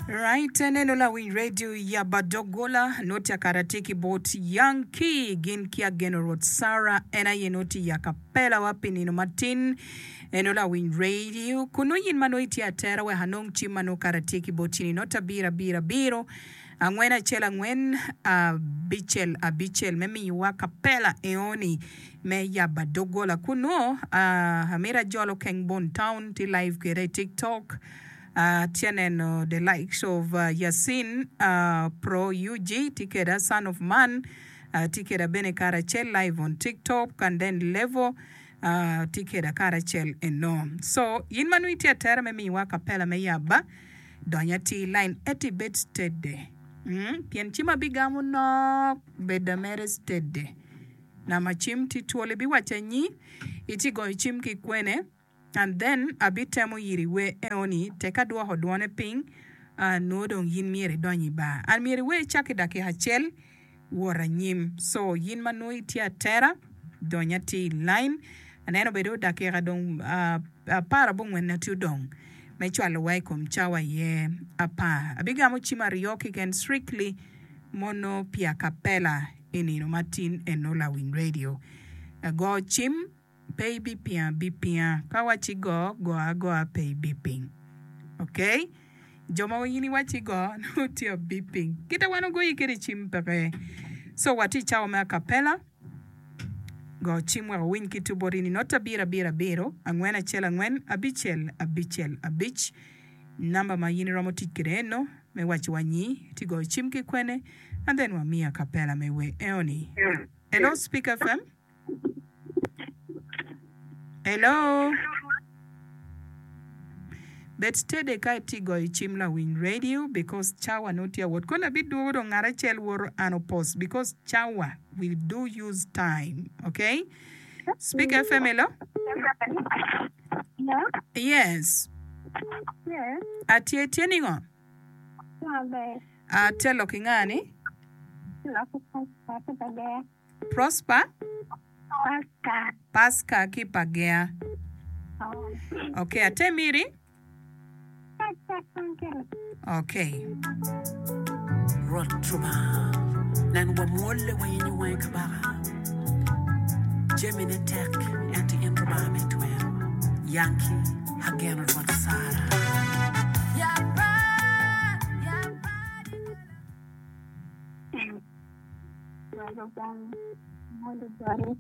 Right, aneno lawiny radio yaba doggola noti akara tye ki bot Yankee gin ki ageno Rwot Sarah en aye noti i akapela wa pi nino matin eno lawiny radio kunu yin ma nongo itye atera wek anong cim ma nongo kara tye ki bot in i nota abiro abiro abiro angwen acel angwen abicel abicel me miyowa kapela eoni me yaba doggola kunu amito ajolo Keng Bon Town tye live kwede i tiktok. Atye neno the likes of Yasin Pro UG tye keda, Son of Man tye keda bene karacel live on tiktok and then Levo tye keda karacel eno. So in ma nongo itye atera me miyowa acapella me yaba, dony atir i line ento ibed steady pien cim abigamo nok beda mere steady. Nama cim tye twol ibiwaco anyi itye goyo cim ki kwene. And then abitemo yiri wer eoni tek adwoko dwone piny nwo dong yin myero idony i bar and myero iwer cak i dakika acel wot anyim so yin ma nwo itye atera dony atir i line aneno bedo dakika dong aparabongwen tye odong me cwalo wa i kom cawa aye apar abigamo cim aryo keken strictly mono pi acapella i nino matin eno lawiny radio go cim. Pe ibipinga abipinga. Ka awacci go, go agoa pe ibiping. Ok? Jo ma in iwacci go, nongo tye abiping. Kite wan ogoyi kede cim peke. So watye i cawa me acapella. Go cim wek owiny ki tu bot in i not abiro abiro abiro, angwen acel angwen, abicel abicel abic. Namba ma in iromo tic kede eno me waco wa nyi ti goyo cim ki kwene and then wamiyi acapella me wer eoni. Hello Speak FM. Hello. Bed steady ka itye goyo cim lawiny radio because cawa nongo tye awot. Kono abidwogo dong ngat acel woto an opos because cawa we do use time. Okay? Speak FM hello. Hello? Yes. Yes. Atye tye ningo? Maber. Atye lok ki nga ni? Lok ki Pastor ki Bagea. Prosper? Pasca. Pasca ki Pagea. Ok, atemiri? Ok. Rwot Lubanga, nen wamwolle wayenyo wangi kabaka. Jamine tek, ento in Lubanga me twero. Yankee, ageno Rwot Sara. Lubanga mondo boti,